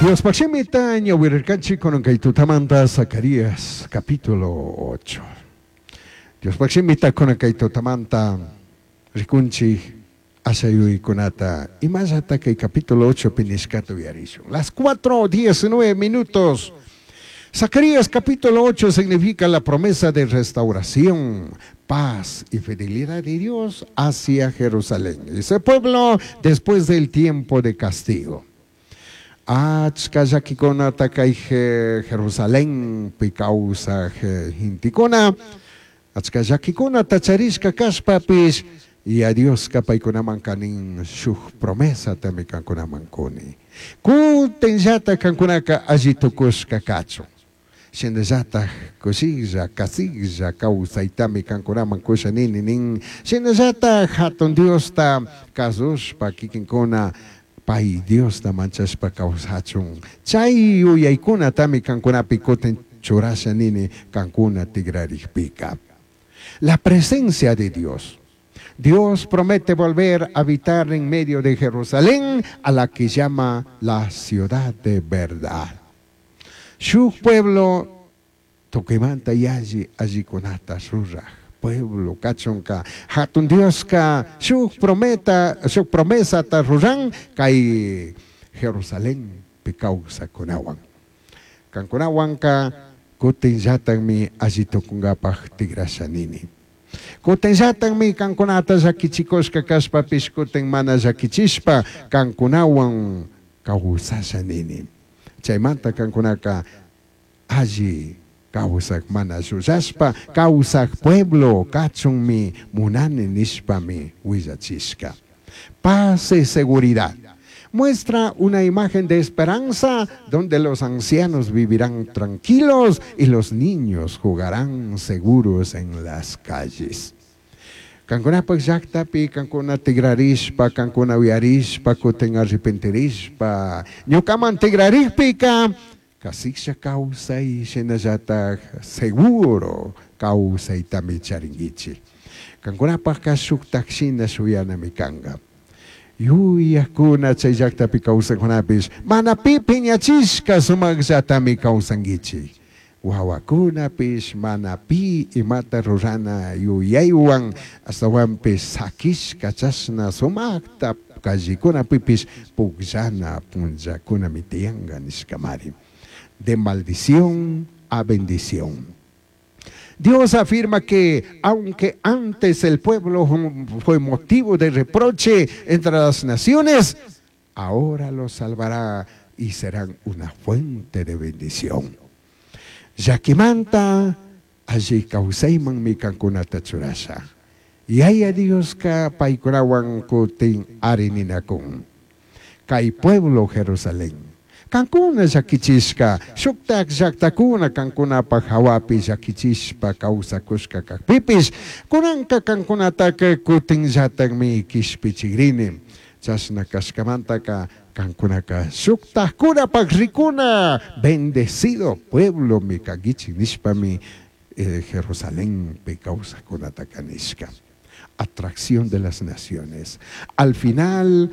Diospaj shimita ñawirirkanchik kunan kay tutamanta Zacarías capítulo 8. Diospaj shimita kunan kay tutamanta rikunchik ashayuykunata imallata kay capítulo 8 pi nishkata uyarishun. Las 4:19 minutos. Zacarías capítulo 8 significa la promesa de restauración, paz y fidelidad de Dios hacia Jerusalén. Ese pueblo después del tiempo de castigo. Achka llakikunata kay Jerusalenpi kawsaj gentekuna, achka llakikunata charishka kashpapish, Yaya Dioska paykunaman kanin shuk promesatami kankunaman kuni. Kutinllata kankunaka alli tukushka kachun. Shinallataj kushilla, kasiklla kawsaytami kankunaman kusha nini nin. Shinallataj hatun Diosta kasushpa kikinkuna pay Diosta manchashpa kawsachun. Chay yuyaykunatami kankunapi kutin churasha nini kankuna tigrarikpika. La presencia de Dios. Dios promete volver a habitar en medio de Jerusalén, a la que llama la ciudad de verdad. Shuk pueblo tukuymanta yalli allikunata ruraj pueblo kachunka hatun Dioska shuk prometa shuk promesata ruran kay Jerusalenpi kawsakunawan. Kankunawanka kutinllatakmi alli tukunkapaj tigrasha nini. Kutinllatakmi kankunata llakichikushka kashpapish kutin mana llakichishpa kankunawan kawsasha nini. Chaymanta kankunaka alli kawsak mana llullashpa kawsak pueblo kachunmi munani nishpami willachishka. Paz y seguridad. Muestra una imagen de esperanza donde los ancianos vivirán tranquilos y los niños jugarán seguros en las calles. Kankunapaj llaktapi, kankuna tigrarishpa, kankuna uyarishpa, kutin arrepentirishpa, ñukaman tigrarishpika, kasiklla kawsay shinallataj seguro kawsaytami charinkichik. Kankunapajka shuktak shina shuyanami kanka. Yuyakuna chay llaktapi kawsakunapish mana pi piñachishka sumakllatami kawsankichik. Wawakunapish mana pi imata rurana yuyaywan ashtawanpish sakishka chashna sumakta callekunapipish pukllana punllakunami tiyanka nishkamari. De maldición a bendición. Dios afirma que aunque antes el pueblo fue motivo de reproche entre las naciones, ahora los salvará y serán una fuente de bendición. Llakimanta alli kawsaymanmi kankunata churasha. Yaya Dioska paykunawan kutin arininakun. Kay pueblo Jerusalén. Kankuna llakichishka, shuktak llaktakuna kankunapaj hawapi llakichishpa kawsakushka kakpipish, kunanka kankunataka kutinllatakmi kishpichikrini. Chashna kashkamantaka kankunaka shuktakkunapaj rikuna bendecido pueblo mi kankichik nishpami Jerusalenpi kawsakunataka nishka. Atracción de las naciones. Al final